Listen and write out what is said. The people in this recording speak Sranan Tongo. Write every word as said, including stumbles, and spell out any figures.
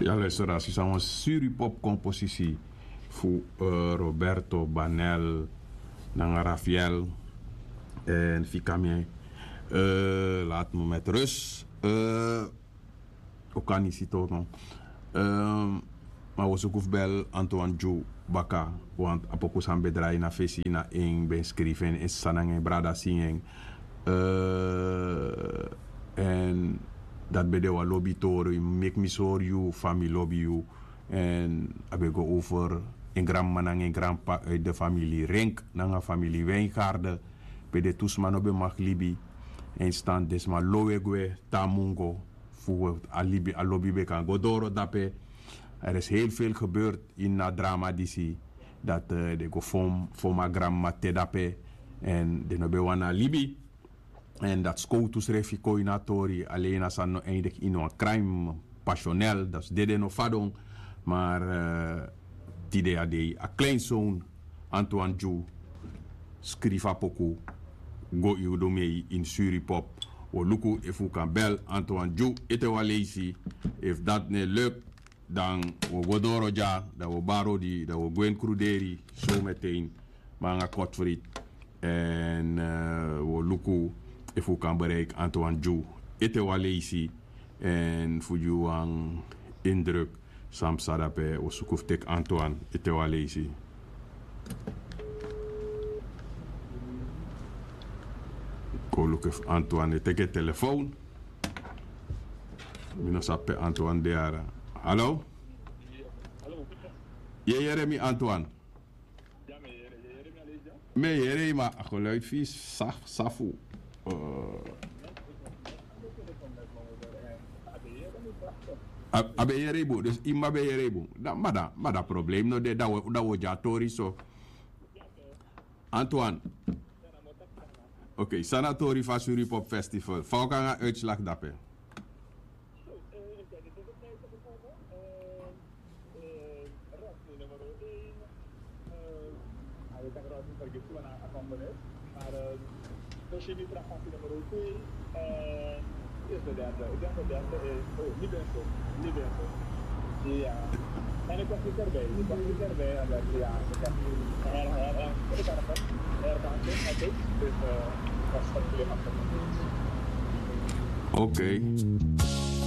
Ya, luisteraars, yu san wan suri pop komposisi fu eh, Roberto Banel nanga Rafael en Fikame. Eh, laat me met rust. Eh, Okanisi toch, no? Ehm, maar we zoeken bel Antoine Ju baka, want a poku san ben draai na fesi na en ben skrifi en, en sani nanga en brada singi en. Eh, en dat ben de wan lobi tori, yu meki mi sori yu fa mi lobi yu. En a ben go over en granmama nanga en granpapa uit de familie Rink nanga familie Wijngaarden. Ben de tu sma no ben mag libi. En stand den sma lowe gwe, tamungo, fu a libi, a lobi ben kan go doro dape. Er is heel veel gebeurd in a drama disi. Dat eh, den go fom, fom a granmama te dape. En den no ben wani a libi. En dat skowtu srefi kon ini a tori, alleen a sani no eindig ini wan crime pasionel, dat is dede no fadon. Maar eh, tide a dei a kleinzoon Antoine Ju skrifi a poku go yu du mei ini suri pop. Wi o luku efu wi kan bel Antoine Ju ete wan leisi. Efu dat no e luk, dan wi o go doro dya, dan wi o bari odi, dan wi o gwe ini kruderi zometeen. Ma nanga Godfried. En eh, wi o luku efu wi kan bereiki Antoine Ju ete wan leisi. En fu gi wan indruk san psa dape, wi o suku fu teki Antoine ete wan leisi. Kon luku efu Antoine e teki en telefoon. Mi no sabi pe Antoine de yara. Hallo? Yu e yere mi, Antoine? Mi e yere yu, ma a geluid fu yu safu, safu. Eh, a, a ben yere yu bun, dus yu mama ben yere yu bun. Dan, ma dan, ma dan problem no de, dan wi, dan wi o dya tori so. Antoine. Ok, san na a tori fu a Suripop Festival? Fa wi o kon nanga uitslag dape? Nummer twee. Eh, is de derde. Ik denk de derde is. Oh, niet eens zo. Niet eens zo. Ja. En ik was niet erbij. Ik was niet erbij. En dat, ja, ik heb nu her, her, her, ik heb het herkant, oké? Dus eh, dat is het probleem achter. Oké.